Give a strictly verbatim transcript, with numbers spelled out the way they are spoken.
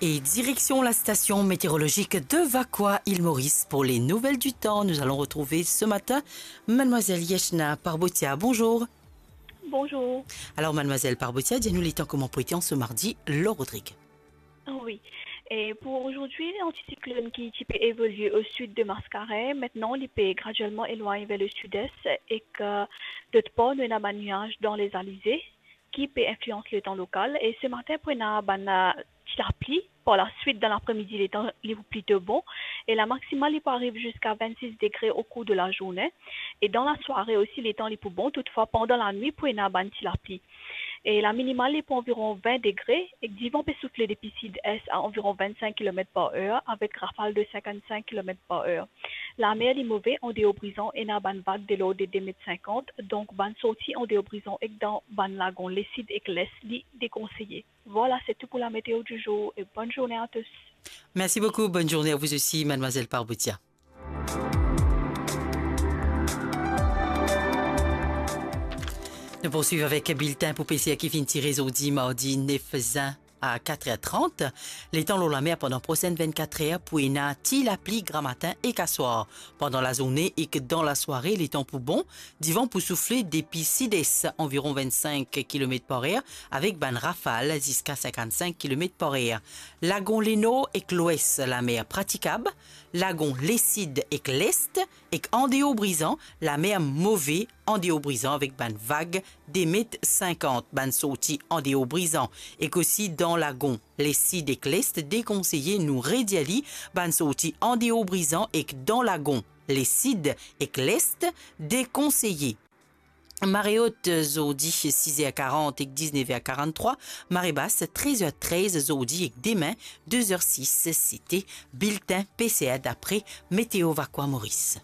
Et direction la station météorologique de Vacoas, Île Maurice, pour les nouvelles du temps. Nous allons retrouver ce matin Mademoiselle Yeshna Parbotia. Bonjour. Bonjour. Alors, Mademoiselle Parbotia, dis-nous le temps comment pour été en ce mardi, lor Rodrigue. Oui. Et pour aujourd'hui, l'anticyclone qui, qui peut évoluer au sud de Mascaret, maintenant, il peut graduellement éloigner vers le sud-est et que d'autre part, nous avons un nuage dans les alizés qui peut influencer le temps local. Et ce matin, pour une bonne, euh, ti lapli. Par la suite, dans l'après-midi, le temps il est plutôt bon. Et la maximale, il peut arriver jusqu'à vingt-six degrés au cours de la journée. Et dans la soirée aussi, le temps il est bon. Toutefois, pendant la nuit, pour une bonne ti lapli. Et la minimale, il est pour environ vingt degrés. Et le vent peut souffler depuis sud-est à environ vingt-cinq kilomètres par heure, avec rafale de cinquante-cinq kilomètres par heure. La mer, il est mauvais, en dehors brisant, et une bonne vague de l'ordre de deux mètres cinquante. Donc, bonne sortie en dehors brisant, et dans bonne lagon, le sud et l'est, il est déconseillé. Voilà, c'est tout pour la météo du jour et bonne journée à tous. Merci beaucoup. Bonne journée à vous aussi, Mademoiselle Parbotia. Nous poursuivons avec le bulletin pour PCR qui finit tiré aujourd'hui, mardi neuf juin à quatre heures trente. Le temps lor lamer pendant prochaine vingt-quatre heures pour une ti lapli gramatin et aswar. Pendant la journée et que dans la soirée, le temps pour bon, divan pour souffler depuis sud-est, environ vingt-cinq kilomètres par heure, avec bann rafal jusqu'à cinquante-cinq kilomètres par heure. Lagon Lenor ek Lwes, lamer pratikab, lagon Lesid ek Lest, ek Andeo Brizan, lamer move, Andeo Brizan avek bann vag de met sinkant, bann sorti Andeo Brizan, ek osi dan lagon Lesid ek Lest dekonseye, nou redir li, bann sorti Andeo Brizan ek dan lagon Lesid ek Lest dekonseye. Mare ot zordi siz er karant ek diznev er karant-trwa, mare bas trez er trez zordi ek demin de zer sis. Sete biltin PCR dapre Météo Vacoas Maurice.